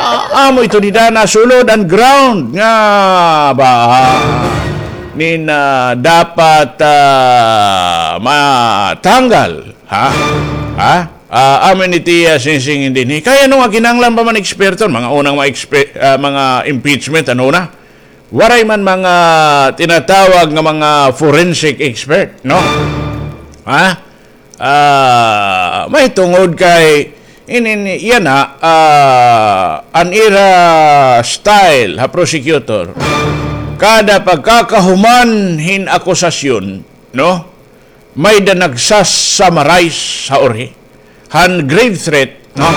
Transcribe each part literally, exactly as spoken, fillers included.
Ah, amo ito dida nasulod an ground nga ba nin, ah, dapat, ah, matanggal, ha? Ha? Ah, amo ini it iya singsingin dinhi. Kay ano nga kinahanglan pa man eksperto, mga unang mga expe-, ah, mga impeachment, ano na? Waray man mga tinatawag nga mga forensic expert, no? Ha? Ah, mahitungod kay inin yana, ah, an ira style ha prosecutor. Kada pagkakahuman hin akusasyon, no? May-ada nagsa-summarize ha uri han grave threat, no?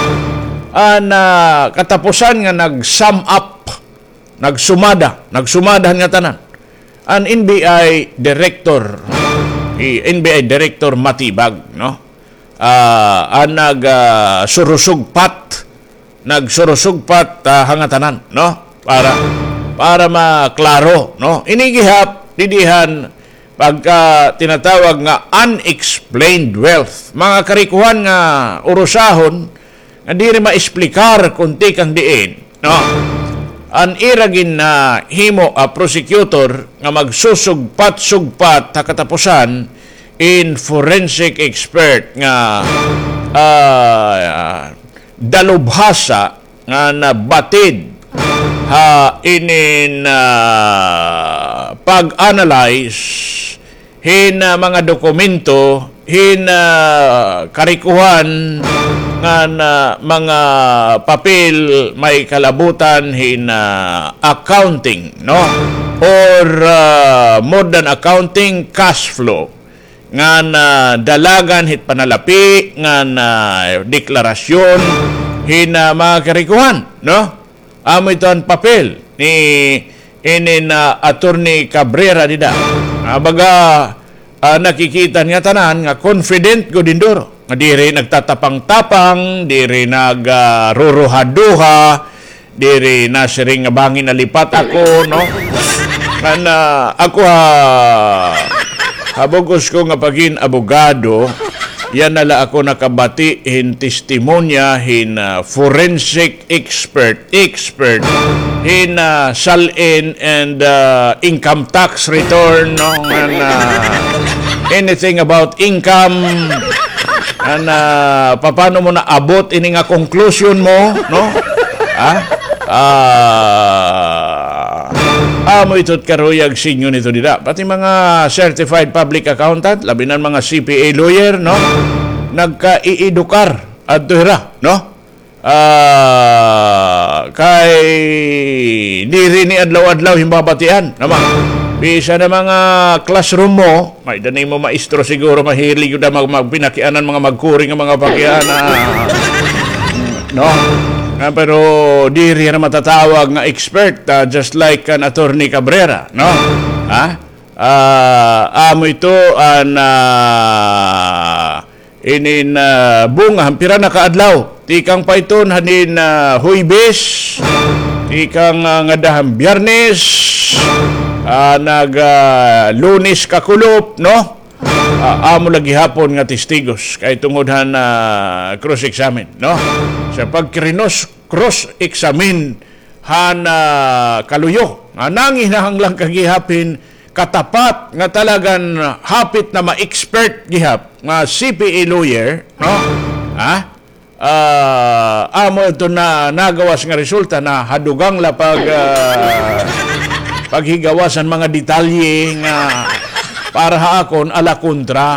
An, ah, katapusan nga nag-sum up, nagsumada, nagsumada han ngatanan. An N B I director, hi N B I director Matibag, no? Ah, an nag, ah, surusugpat, nagsurusugpat, ah, ha ngatanan, no? Para, para maklaro, no? Ini gihap, didi han pagka tinatawag nga unexplained wealth. Mga karikohan nga urusahon, nga diri maesplikar kon tikang diin, no? An ira gin, ah, himo, ah, prosecutor nga magsusugpat-sugpat ha katapusan in forensic expert nga, ah, dalubhasa nga nabatid ha inin, ah, pag-analyze hin, ah, mga dokumento, hin, ah, karikohan ngan mga papel may kalabutan hin, ah, accounting, no? Or, ah, more than accounting, cash flow. Ngan, ah, dalagan hit panalapi, ngan, ah, deklarasyon hin, ah, mga karikohan, no? Amo ito an papel ni inin, ah, Attorney Cabrera dida. Ah, baga, ah, nakikita nga tanan nga confident gud hin duro. Nga diri nagtatapang-tapang, diri nag, ah, ruruha-duha, diri nasiring nga bangin nalipat ako, no? Ngan, ah, ako ha, ha bug-os ko nga pagin abogado, yana la ako nakabati hin testimonya hin, ah, forensic expert, expert hin, ah, SALN and, ah, income tax return, no? Ngan, ah, anything about income, ngan, ah, papano mo naabot ini nga conclusion mo, no? Ha? Ah, amo ito it karuyag sinyo nito dida. Pati mga certified public accountant, labi na an mga C P A lawyer, no? Nagkaiidukar adto hira, no? Ah, kay diri ini adlaw-adlaw hin babatian, naman. Bisan ha mga classroom mo, may-ada nimo maestro siguro, mahilig gud mag-, magpinakianan mga magkuri nga mga pakiana, no? Ah, pero diri hira matatawag nga expert, ah, just like kan Attorney Cabrera, no? Ha? Ah, amo ito an, ah, inin, ah, bunga han pira na ka adlaw. Tikang pa iton hanin, ah, Huwebes, tikang, ah, ngada han Biyernes, ah, nag, ah, Lunes kakulop, no? Ah, amo la gihapon nga testigos kay tungod han, ah, cross-examine, no? Sa pagkrinos-, cross-examine han, ah, kaluyo nga nanginahanglan ka gihap hin katapat nga talagan hapit na ma-expert gihap nga C P A lawyer, no? Ha? Ah, amo ito na nagawas nga resulta na ha dugang la pag, ah, paghigawas han mga detalye nga para ha akon ala kontra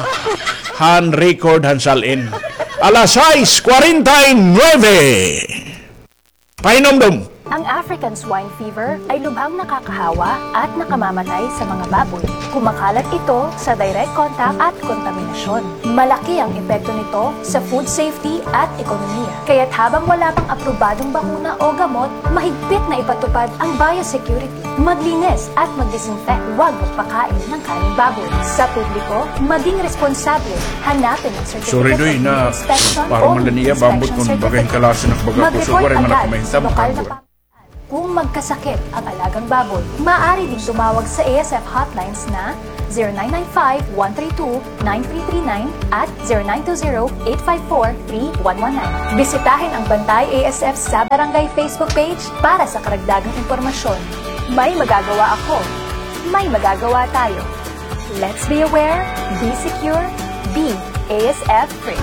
han record han SALN. Alas sais kwarenta y nuebe. Pahinumdom. Ang African swine fever ay lubhang nakakahawa at nakamamatay sa mga baboy. Kumakalat ito sa direct contact at kontaminasyon. Malaki ang epekto nito sa food safety at ekonomiya. Kaya't habang wala pang aprobadong bakuna o gamot, mahigpit na ipatupad ang biosecurity. Maglinis at mag-disinfect. Huwag magpakain ng karneng baboy. Sa publiko, maging responsable. Hanapin ang certificate of inspection o inspection certificate. Mag-report agad sa lokal na pam- Kung magkasakit ang alagang baboy, maaari ding tumawag sa A S F hotlines na zero nine nine five, one three two, nine three three nine at zero nine two zero, eight five four, three one one nine. Bisitahin ang Bantay A S F sa Barangay Facebook page para sa karagdagang impormasyon. May magagawa ako. May magagawa tayo. Let's be aware, be secure, be A S F free.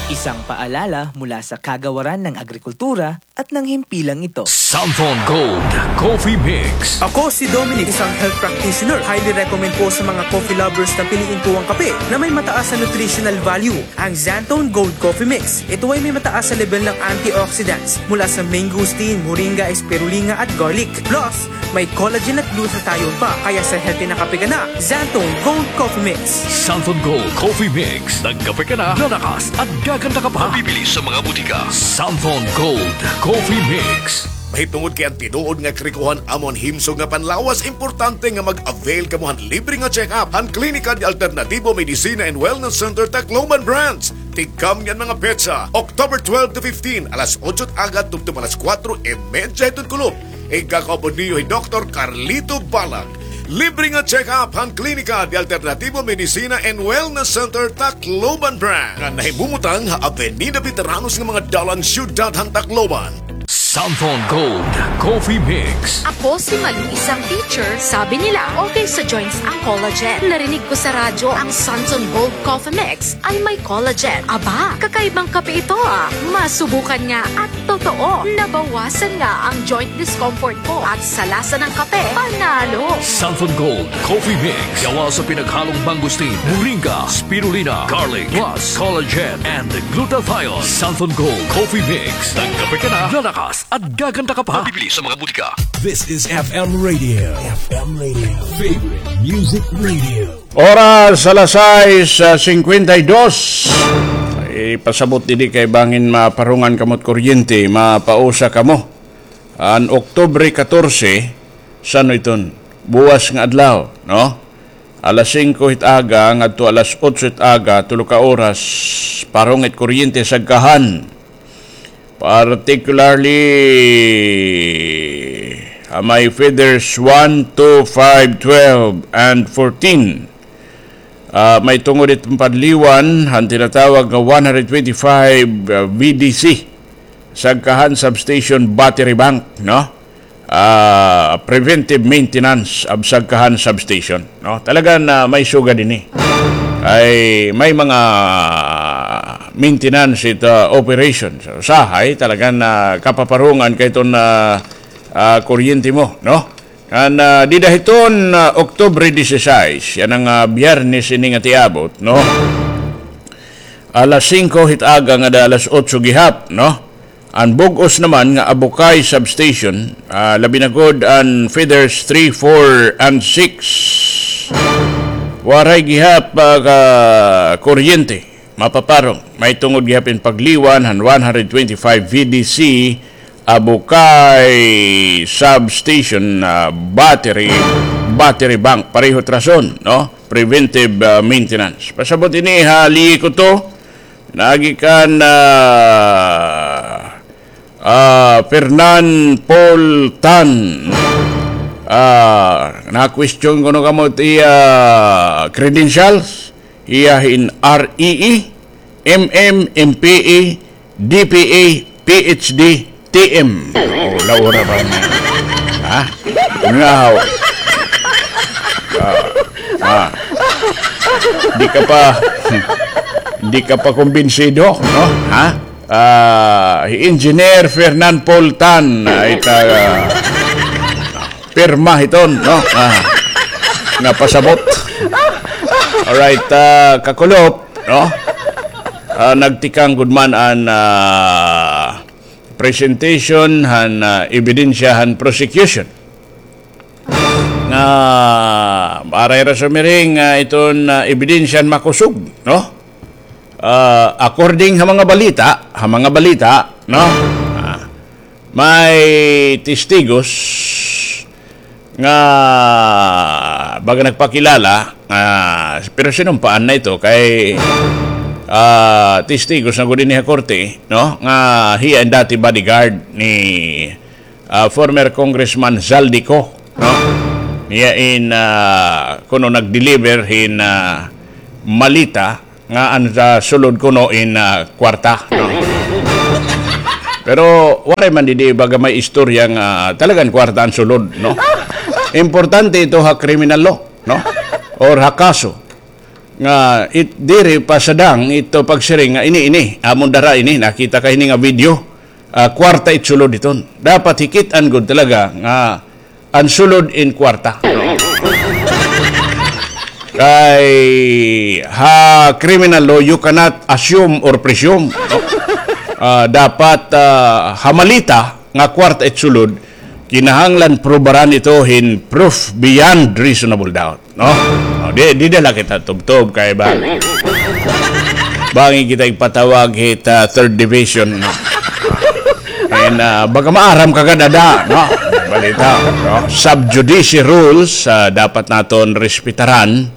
Isang paalala mula sa Kagawaran ng Agrikultura at ng himpilang ito. Santhon Gold Coffee Mix. Ako si Dominic, isang health practitioner. Highly recommend po sa mga coffee lovers na piliin po ang kape na may mataas na nutritional value, ang Xanthone Gold Coffee Mix. Ito ay may mataas na level ng antioxidants mula sa mangosteen, moringa, spirulina at garlic. Plus, may collagen at glutathione pa, kaya sa healthy na kape ka na, Xanthone Gold Coffee Mix. Santhon Gold Coffee Mix. Nagkape ka na, lalakas at gaganda ka pa. Mabibili sa mga butika. Santhon Gold Coffee Mix. Mahitungod kay an tinuod nga karikohan amo an himsog nga panlawas, importante nga mag-avail kamo han libre nga check-up han Klinika de Alternativo Medicina and Wellness Center Tacloban Branch. Tigkamni an mga petsa, October twelve to fifteen, alas otso it aga tubtob alas kuwatro y medya hiton kulop. Igkakaupod niyo hi Doktor Carlito Balag. Libre nga check-up han Klinika de Alternativo Medicina and Wellness Center Tacloban Branch, nga nahimumutang ha Avenida Veteranos nga mga dalan, siyudad han Tacloban. Santhon Gold Coffee Mix. Ako si Malu, isang teacher. Sabi nila, okay sa joints ang collagen. Narinig ko sa radyo ang Santhon Gold Coffee Mix ay may collagen. Aba, kakaibang kape ito, ah. Masubukan nga at totoo, nabawasan nga ang joint discomfort ko at sa lasa ng kape, panalo. Santhon Gold Coffee Mix. Gawa sa pinaghalong mangosteen, moringa, spirulina, garlic, plus collagen and glutathione. Santhon Gold Coffee Mix. Nagkape ka na, lalakas at gaganda ka pa. Mabibili sa mga butika. This is F M Radio. F M Radio. Favorite Music Radio. Oras alas sais, ah, singkwenta y dos. Ipasabot didi kay bangin maparungan kamo hit kuryente, mapausa kamo. An Oktubre katorse, san-o iton? Buwas nga adlaw, no? Alas singko hit aga ngadto alas otso hit aga, tulo ka oras, parong it kuryente Sagkahan. Particularly, ah, may feeders one, two, five, twelve, and fourteen. Ah, may tungod it padliwan han tinatawag nga one hundred twenty-five, ah, V D C, Sagkahan Substation Battery Bank, no? Ah, preventive maintenance of Sagkahan Substation, no? Talaga na may sugad ini. Ay, may mga maintenance it, ah, operation. So, usahay, talaga na kapaparungan kay iton, ah, ah, kuryente mo, no? An, ah, dida hiton, ah, Oktubre disisais, yana nga, ah, Biyernes ini nga tiabot, no? Alas singko hit aga ngada alas otso gihap, no? An bug-os naman nga Abukay Substation, ah, labi na gud an feeders three, four, and six. Waray gihap, ah, ka kuryente mapaparong. May tungod gihap in pagliwan han one hundred twenty-five V D C Abukay Substation, ah, battery, battery bank. Pareho it rason, no? Preventive, ah, maintenance. Pasabot ini ha Likuto, naagi kan, ah, ah, Fernan Paul Tan. Ah, na-question kuno kamo it iya credentials. Iya hin R E E, M M, M P A, D P A, P H D, T M. Oh, laura ba na? Ha? Ngaw. Ah, ah. Di ka pa, di ka pa kumbinsido, no? Ha? Ah, hi Engineer Fernan Poltan, ay ta, pirma hiton, no? Ah, nga pasabot. Alright, ah, kakulop, no? Ah, nagtikang gud man an, ah, presentation han, ah, ebidensya han prosecution. Nga, aray ra sumiring, ah, iton, ah, ebidensya han makusog, no? Ah, according ha mga balita, ha mga balita, no? Ah, may testigos nga baga nagpakilala, ah, pero sinumpaan na ito kay, ah, testigos na gud ini ha korte, no? Nga hiya an dati bodyguard ni ah, former Congressman Zaldy Co, no? Niya in, ah, kuno nag-deliver hin, ah, malita nga an sa sulod kuno in, ah, kwarta, no? Pero waray man didi baga may istorya nga talagan kwarta an sulod, no? Importante ito ha criminal law, no? Or ha kaso. Nga it, diri pa sadang ito pagsiring nga ini, ini, amon dara ini, nakita ka ini nga video, ah, kwarta it sulod iton. Dapat hikit-an gud talaga nga an sulod in kwarta. Kay ha criminal law, you cannot assume or presume, no? Ah, dapat, ah, ha malita nga kwarta it sulod, kinahanglan prubaran ito hin proof beyond reasonable doubt, no? O, di, di na la kita tubtob kay ba, bangin kita igpatawag hit, ah, third division, no? And, ah, baga maaram ka gad ada, no? Balita, no? Sub judice rules, ah, dapat naton respetaran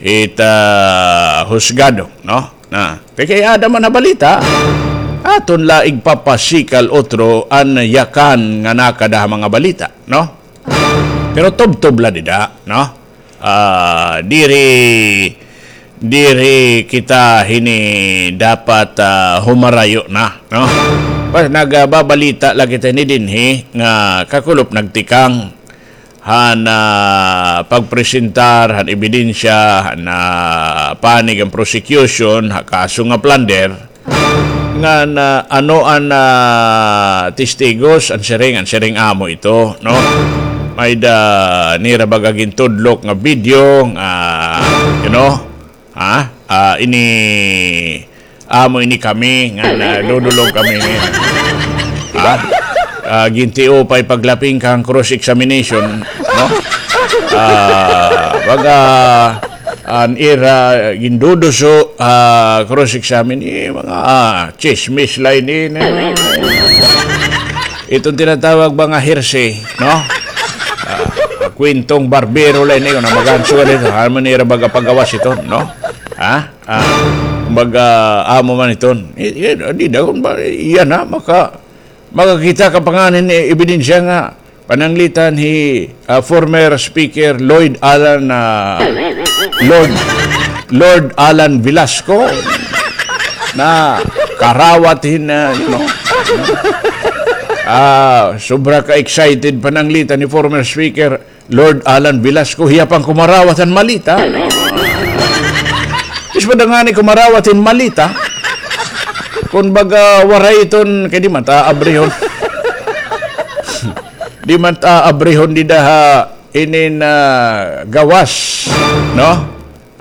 it, ah, husgado, no? Na, kay ada man ha balita, aton la igpapasikal otro an yakan nga nakada ha mga balita, no? Pero tubtob la dida, no? Ah, diri, diri kita hini dapat, ah, humarayo na, no? Pas nagababalita la kita hini dinhi nga kakulop nagtikang han, ah, pagpresentar han ebidensya han, ah, panig han prosecution ha kaso nga plunder, ngan ano an, ah, testigos, an siring, an siring amo ito, no? May-ada nira baga gintudlok nga video nga, you know, ha? Ah, ini, amo ini kami nga nadudulog kami ini. Ha? Ah, gintiupay paglaping kan cross examination, no? Ah, baga an ira ginduduso, ah, cross examine, eh, mga, ah, chismis la ini, ini. Iton tinatawag mga hearsay, no? Ah, kwentong barbero la ini, kun magansuan ito, amo nira baga pagawas iton, no? Ha? Ah, kumbaga, amo man iton. Eh, eh, di daw, ba, iya na, maka, makakita ka pa ngani hin ebidensya nga pananglitan hi, ah, former Speaker Lloyd Alan, ah, Lord, Lord Alan Velasco na karawat hin, ah, you know, ah, sobra ka excited pananglitan hi former Speaker Lord Alan Velasco, hiya pa an kumarawat han malita. Tis pa da ngani kumarawat hin malita. Kun baga waray iton, kay di man ta aabrihon. Di man ta aabrihon dida ha inin, ah, gawas, no?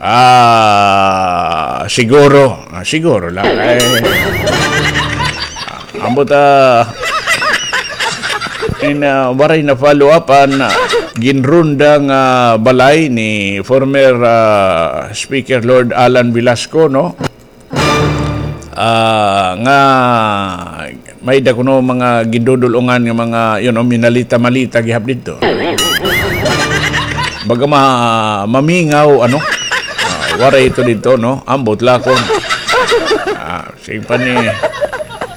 Ah, siguro. Ah, siguro la. Ay. Ambot, ah, in, ah, waray na-follow up an, ah, ginronda nga balay ni former, ah, Speaker Lord Alan Velasco, no? Ah, nga may-ada kuno mga gindudul-ongan nga mga, you know, minalita-malita gihap didto. Baga ma-, mamingaw, ano? Ah, waray ito didto, no? Ambot la kon. Ah, sige pa ni,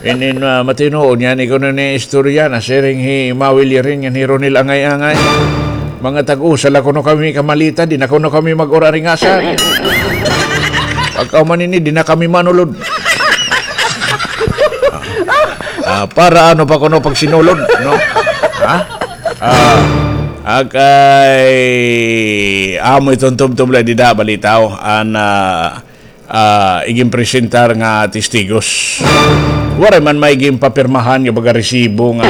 inin, ah, matinuod niyan, ikaw na ni istorya na, siring hi Mawil Yirin, ngan hi Ronel Angay-angay. Mga tag-usa la kuno kami kamalita, di na kuno kami mag-uraringasan. Pagkahuman ini, di na kami manulod. Ah, para ano pa kuno pagsinulod, no? Ha? Ah, akay, amo iton tubtob la dida, balitaw. An, ah, ah, iginpresentar nga testigos. Waray man may ginpapirmahan nga baga resibo nga.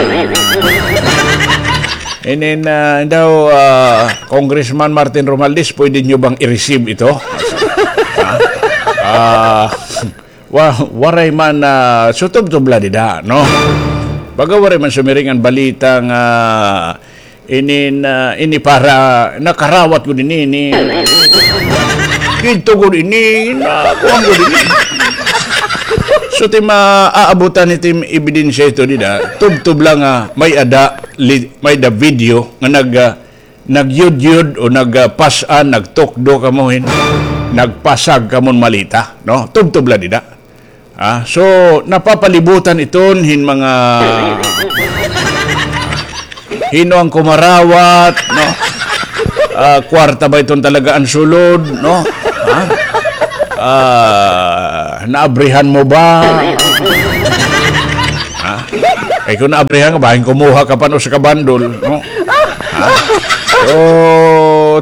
Inin, ah, daw, ah, Congressman Martin Romualdez, pwede niyo bang i-receive ito? Ha? Ah, wa-, waray man, ah, so tubtob la dida, no? Baga waray man sumiring an balita nga inin, ah, ini para nakarawat gud ini, ini. Didto gud ini, na, kuan gud ini. So, ti maaabutan ni tim ebidensya ito dida, tubtob la nga may-ada, li-, may-ada video nga nag, ah, nagyudyod o nag, ah, pas-an, nagtukdo kamo hin, nagpasag kamo hin malita, no? Tubtob la dida. Ah, so, napapalibutan iton hin mga, Hin-o an kumarawat, no? Ah, kwarta ba iton talaga an sulod, no? Ha? Ah, naabrihan mo ba? Ha? Kay kon naabrihan ka, bahin kumuha ka pa hin usa ka bandol, no? Ha? So,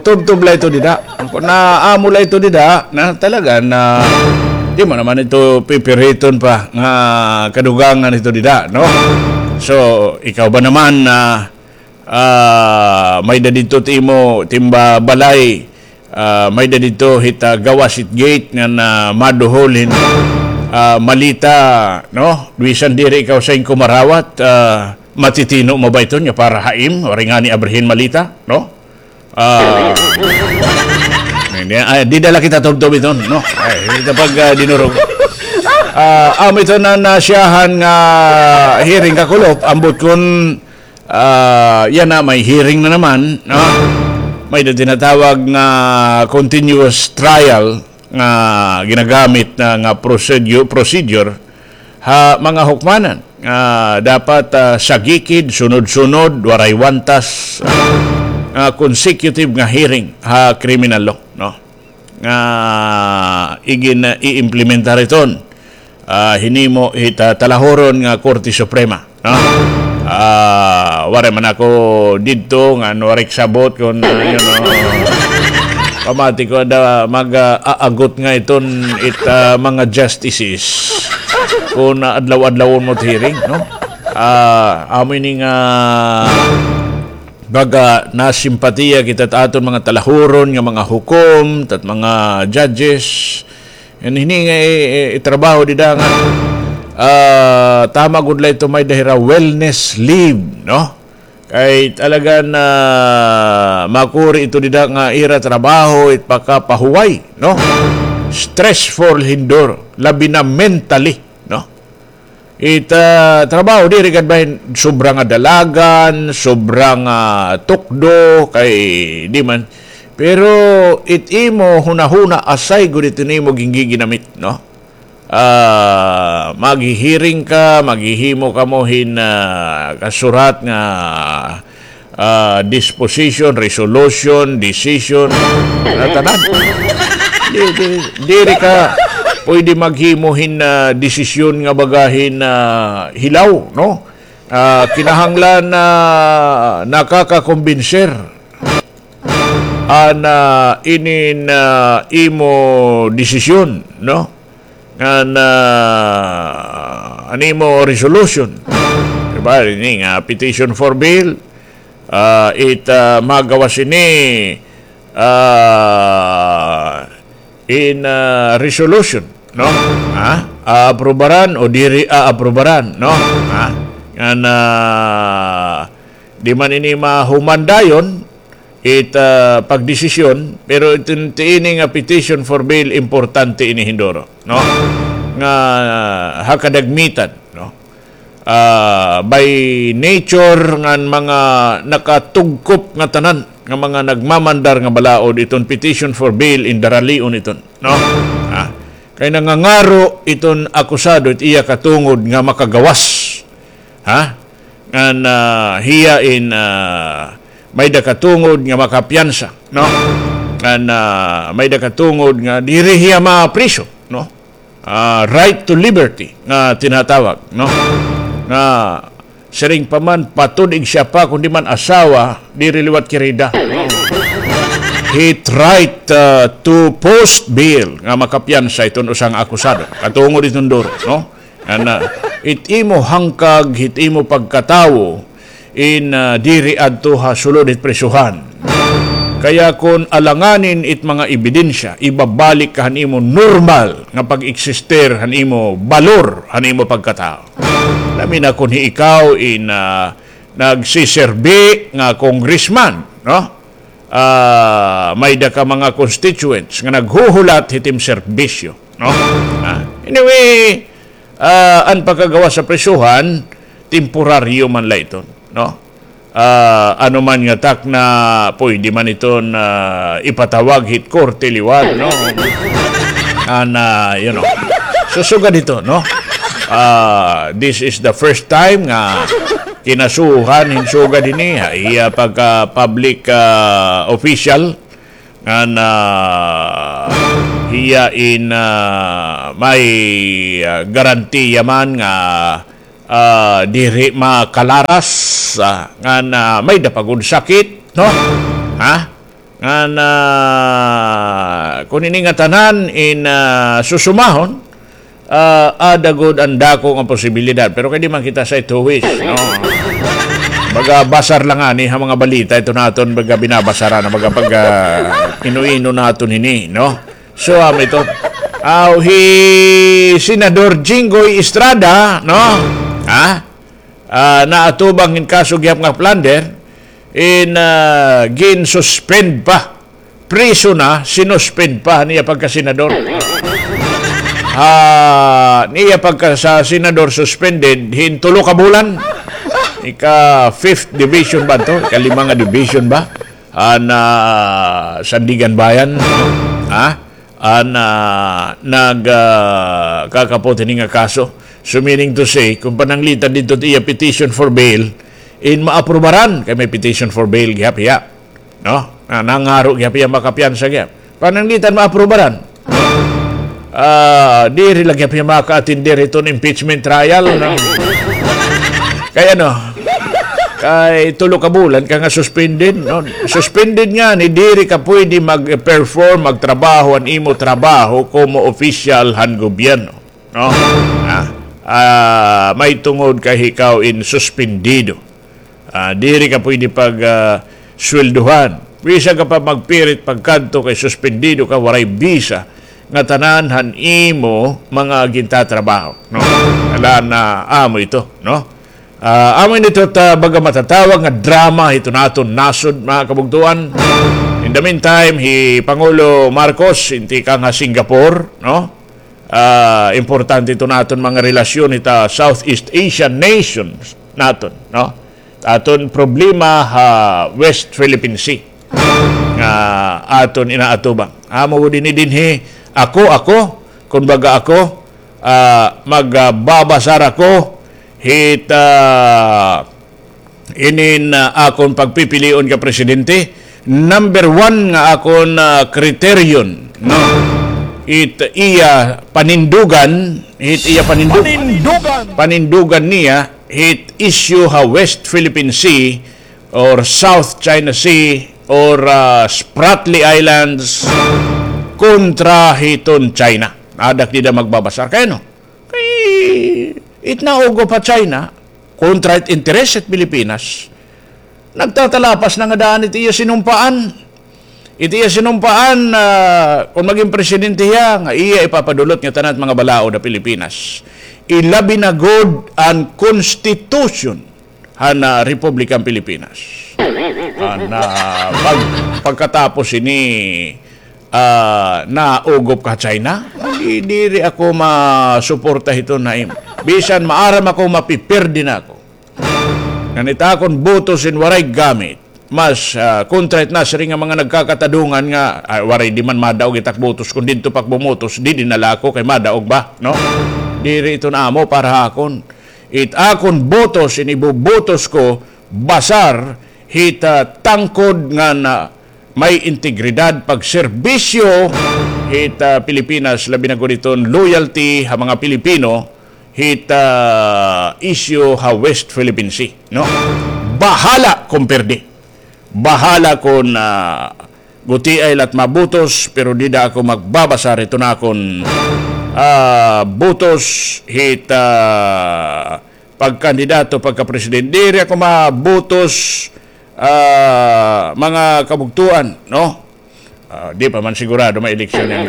tubtob la ito dida. Kon naamo la ito dida, na talaga na di mo naman ito pipiriton pa nga kadugangan ito dida, no? So, ikaw ba naman, ah, ah, may-ada didto it imo timba balay, ah, may-ada didto hit, ah, gawas hit gate nga na maduhol hin, ah, malita, no? Bisan diri ikaw sa inyo kumarawat, ah, matitino mo ba iton nga para ha im, waray ngani abrihin malita, no? Ah, hindi, ay, dida la kita tubtob iton, no? Ay, ito pag, ah, dinurog. Ah, amo iton an, ah, siyahan nga hearing, Kakulop, ambot kon, ah, yana may hearing na naman, no? May-ada tinatawag nga continuous trial nga ginagamit na nga prosedu-, procedure ha mga hukmanan nga dapat, ah, sagikid, sunod-sunod, waray wantas, ah, consecutive nga hearing ha criminal law, no? Nga igin-, ah, i-implementar iton, ah, hinimo hit, ah, talahuron nga Korte Suprema, no? Ah, waray man ako didto ngan waray kasabot kon, ah, you know, pamati ko ada mag, ah, aagot nga iton it, ah, mga justices kon, ah, adlaw-adlawon mo it hearing, no? Ah, amo ini nga baga nasimpatiya kita it aton mga talahuron nga mga hukom, it at mga judges. Ngan hini nga i-, i-, itrabaho dida nga, ah, tama gud la ito may-ada hira wellness leave, no? Kay talaga na makuri ito dida nga ira trabaho it pakapahuway, no? Stressful hinduro, labi na mentally, no? It, ah, trabaho, diri gad bahin sobra nga dalagan, sobra nga tukdo, kay di man. Pero it imo hunahuna, asay gud it imo gingiginamit, no? Ah, maghihiring ka, maghihimo kamo hin, ah, kasurat nga ah, disposition, resolution, decision, nga tanan. Di, di, diri ka pwede maghimo hin, ah, desisyon nga baga hin, ah, hilaw, no? Ah, kinahanglan na nakakakumbinser an, ah, inin, ah, imo desisyon, no? Ngan, ah, an imo resolution. Di ba? Ini nga petition for bail, ah, it, ah, magawas ini, ah, in, ah, resolution, no? Ha? Aaprubaran o diri aaprubaran, no? Ha? Ngan, ah, di man ini mahuman dayon, it, ah, pagdesisyon, pero iton ti ini nga petition for bail, importante ini hinduro, no? Nga, ah, ha kadagmitan, no? Ah, by nature ngan mga nakatugkop nga tanan nga mga nagmamandar nga balaod, iton petition for bail, indaralion iton, no? Ah, kay nangangaro iton akusado, it iya katungod nga makagawas. Ha? Ngan, ah, hiya in, ah, may-ada katungod nga makapiyansa, no? Ngan, ah, may-ada katungod nga diri hiya mapriso, no? Ah, right to liberty nga tinatawag, no? Nga siring pa man, patudig siya pa, kundi man asawa, diri liwat kirida. Hit right, ah, to post bail nga makapiyansa iton usa nga akusado. Katungod iton duro, no? Ana, it imo hangkag, it imo pagkatawo, in, ah, diri adto ha sulod hit prisuhan. Kaya kon alanganin it mga ebidensya, ibabalik ka han imo normal nga pag-eksistir, han imo balor, han imo pagkatawo. Labi na kon hi ikaw in, ah, nagsiserbi nga congressman, no? Ah, may-ada ka mga constituents nga naghuhulat hit im serbisyo, no? Ah, anyway, ah, an pagkagawas ha prisuhan, temporaryo man la iton, no? Ah, ano man nga takna, pwede man iton, ah, ipatawag hit korte liwat, no? An, ah, you know. So, sugad hito, no? Ah, this is the first time nga kinasuhan hin sugad hini ha iya pagka public, ah, official, ngan hiya in, ah, may, ah, garantiya man nga, ah, diri makalaras, ah, ngan, ah, may-ada pa gud sakit, no? Ha? Ngan, ah, kon ini ngatanan in, ah, susumahon, ah, aada gud an dako nga posibilidad. Pero kay di man kita sa ituwis, no? Baga basar la ngani ha mga balita ito naton, baga binabasara na, baga pag, ah, ino-ino naton hini, no? So, amo ito. Aw, hi Senador Jinggoy Estrada, no? Ha? Ah, naatubang hin kaso gihap nga plunder, in, ah, gin-suspend pa. Priso na, sinuspend pa han iya pagkasenador. Ah, niya pagka sa senador suspended hin tulo ka bulan. Ika fifth division ba to? Ika lima nga division ba? An, ah, Sandiganbayan. Ha? An, ah, nag, ah, kakapot hini nga kaso. So, meaning to say, kon pananglitan didto it iya petition for bail, in maaprubaran, kay may petition for bail gihap hiya. No? Na, nangaro gihap hiya makapiyansa gihap. Pananglitan maaprubaran. Ah, diri la gihap hiya maka-attender hiton impeachment trial, no? Kay ano, kay tulo ka bulan ka nga suspended, no? Suspended ngani, diri ka pwede mag-perform, magtrabaho, an imo trabaho komo opisyal han gobyerno, no? Ah, ah, may tungod kay ikaw in suspendido. Ah, diri ka pwede pag, ah, sweldohan. Bisan ka pa magpirit pagkadto kay suspendido ka, waray bisa, ngatanan han imo mga gintatrabaho, no? Ala na amo ito, no? Ah, amo ini ito ta baga matatawag nga drama hito naton nasod, mga kabugtuan. In the meantime, hi Pangulo Marcos, inti ka nga Singapore, no? Ah, importante ito naton mga relasyon hita Southeast Asian nations naton, no? Aton problema ha West Philippine Sea nga aton inaatubang. Amo dinhi dinhi, ako, ako, kun baga ako, ah, magbabasar ako hit, ah, inin, ah, akon pagpipilion ka presidente. Number one nga akon, ah, kriteriyon, no? It iya panindugan, it iya panindu-, panindugan niya, it issue ha West Philippine Sea or South China Sea or, ah, Spratly Islands kontra hiton China. Adak dida magbabasar. Kay ano? Kay it naugop ha China, kontra it interes it Pilipinas. Nagtatalapas na nga daan it iya sinumpaan. It iya sinumpaan, ah, kon magin presidente hiya, nga iya ipapadulot nga tanan it mga balaod ha Pilipinas. Ilabi na gud an constitution han, ah, Republikang Pilipinas. An, ah, pag-, pagkatapos ini, ah, naugop ka China, di, diri ako masuporta hiton na im-, bisan maaram ako, mapipirdi na ako. Ngan it akon botos in waray gamit. Mas, ah, kontra it nasiring nga mga nagkakatadungan nga, ah, waray di man madaog it ak botos, kon didto pa ak bumotos, didi na la ako kay madaog ba, no? Diri iton amo para ha akon. It akon botos, in ibubotos ko, basar hit, ah, tangkod ngan may integridad, pagserbisyo hit, ah, Pilipinas, labi na gud iton loyalty ha mga Pilipino hit, ah, issue ha West Philippine Sea, no? Bahala kon pirdi. Bahala kon, ah, gutiay la it mabutos, pero dida ako magbabasar hiton akon, ah, butos hit, ah, pagkandidato, pagkapresidente. Diri ako mabutos, ah, mga kabugtuan, no? Ah, di pa man sigurado may eleksyon yan.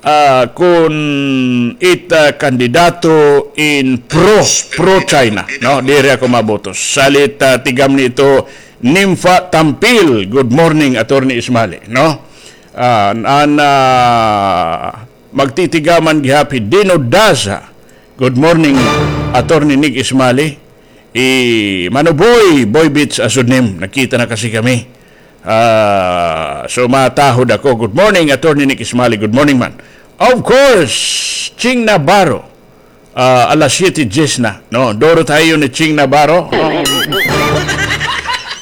Ah, kun it, ah, kandidato in pro, pro China, no? Diri ako mabutos. Salit, ah, tigam ni ito, Nympha Tampil, good morning, Attorney Ismali, no? Ah, an, ah, magtitigaman gihap hi Dino Daza, good morning, Attorney Nick Ismali. I Mano Boy, Boy Beats Asunim, nakita na kasi kami. Ah, so matahod ako. Good morning, Attorney Nick Ismali. Good morning man. Of course, Ching Navarro. Ah, alas siyete diyes na, no? Duro tayo ni Ching Navarro.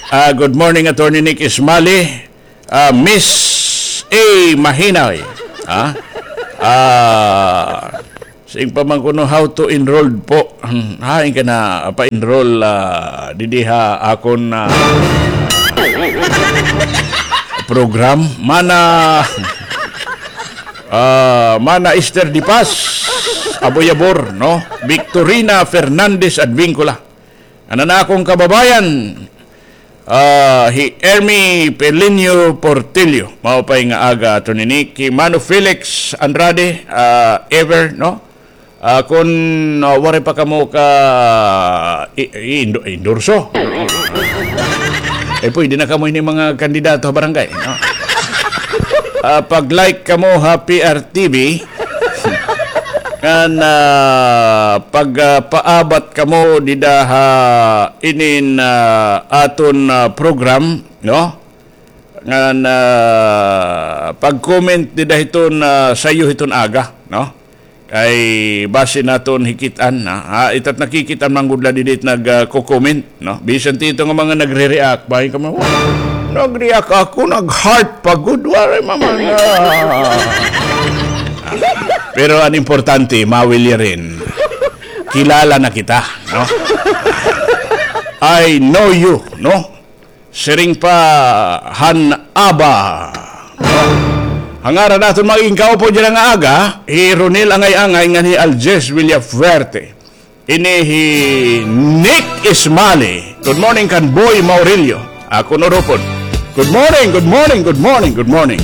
Ah, good morning, Attorney Nick Ismali. Ah, Miss A Mahinay. Ha? Ah, sing pa man kuno how to enroll po. Hmm, hain ka na pa-enroll, ah, didi ha akon, ah, program. Mana, ah, Mana Esther Dipas, Aboyabor, no? Victorina Fernandez Advincula. An akon kababayan, ah, hi Ermi Pelinio Portillo. Maupay nga aga, Attorney Nick. Hi Mano Felix Andrade, ah, ever, no? Ah, kun, ah, waray pa kamo ka i-, i-, indo-, endorso. Eh, pwede na kamo ini mga kandidato ha barangay, no? Ah, pag-like kamo ha P R T V, ngan, ah, pag, ah, paabat kamo dida ha inin, ah, aton, ah, program, no? Ngan, ah, pag-comment dida hiton, ah, sayo hiton aga, no? Kay basi naton hikit-an, ha? Ha, itat nakikit-an man gud la didi it nag, ah, ko-comment, no? Bisan tito nga mga nagre-react, bahin ka man, "Wow, nag-react ako, nag-heart pa gud, waray mamanga." Pero an importante, mawilyarin. Kilala na kita, no? I know you, no? Siring pa han ABA. Ha ngaran naton mga inkaupo dyan nga aga, hi Ronel Angay-Angay ngan hi Aljes Villafuerte. Ini hi Nick Ismali. Good morning kan Boy Maurilio. Ako no rupon. Good morning, good morning, good morning, good morning.